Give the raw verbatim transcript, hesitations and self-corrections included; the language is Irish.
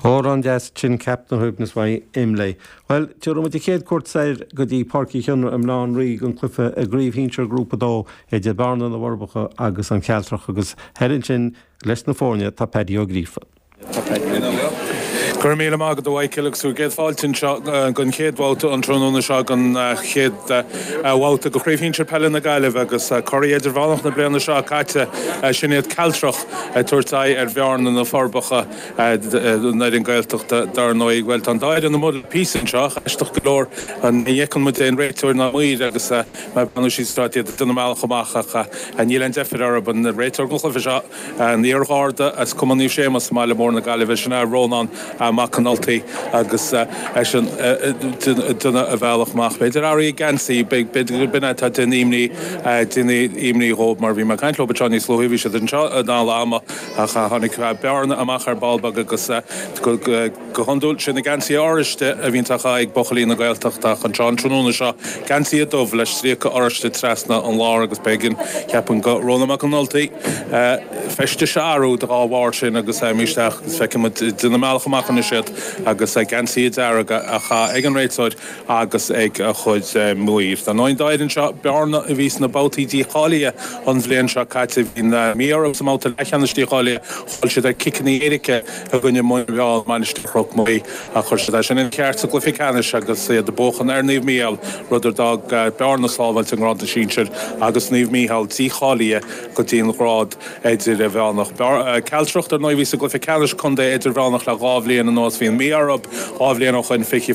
Amhrán deas sin Captain Shuaimhneas uaidh Imlé. Well tabharfaidh muid an chéad cuairt soir go dtí Páirc Uí Chionnaith i mBaile Átha an Rí don chluiche i gcraobh shinsir Grúpa dó idir Bearna na bhForbacha agus an Chealtrach agus thoir ansin leis na foirne tá Paddy Ó Gríofa. Go raibh míle maith agat a Mhichael agus céad fáilte anseo don chéad bhabhta an tráthnóna seo don chéad bhabhta de Chraobh Shinsir Peile na Gaillimhe agus curaidh idirmheánach na bliana seo caite sin iad Cealtrach ag tabhairt aghaidh ar Bhearna na Forbacha an fhoireann Gaeltachta dar ndóigh. Bhuel tá an dá fhoireann amuigh le píosa anseo aisteach go leor ní fheiceann muid aon réiteoir ná maor agus mar breathnú siad stát iad ag déanamh a mbealach amach ach níl aon deifir orthu an réiteoir don chluiche seo an iar-gharda as Cumann Naomh Séamus i mBaile Mór na Gaillimhe sin é Rónán Mac Con Ultaigh agus eisean ag déanamh a bhealach amach. B'fhéidir airí geansaí b'fhéidir b'in atá déanamh imní déanamh imní dhóibh mar bhí mé ag caint leo anseo níos luaithe bhí siad anseo in am ach tháinig Bearna amach ar ball beag agus go go hiondúil sin na geansaí oráiste a bhíonn ag buachaillí na Gaeltachta ach anseo an tráthnóna seo geansaí dubh le stríoca oráiste trasna an lár agus b'éigean ceapaim do Rónán Mac Con Ultaigh feistis a athrú dá bharr sin agus isteach agus feicimid déanamh a mbealach amach anois iad agus geansaí dearga ag an réiteoir agus ag a chuid maor. Tá nóin dáir seo Bearna a bhí sna babhtaí dícháilithe an bhliain seo caite bhí mí sa mbabhta leathcheannais dícháilithe chaill siad ar ciceanna éirice i gcoinne Muinbheal Mainistir Chnoc Muaidhe a chuir siad sin ina ceart sa gcluiche ceannais agus iad ag buachan ar Naomh Mícheál rud a d'fhág Bearna sábháilte i ngrád na sinsear agus Naomh Mícheál dícháilithe go dtí an grád idirmheánach. Cealtrach ar ndóigh bhí sa gcluiche ceannais contae idirmheánach le dhá bhliain anuas bhí an Mí orthu dhá bhliain ó shin fiche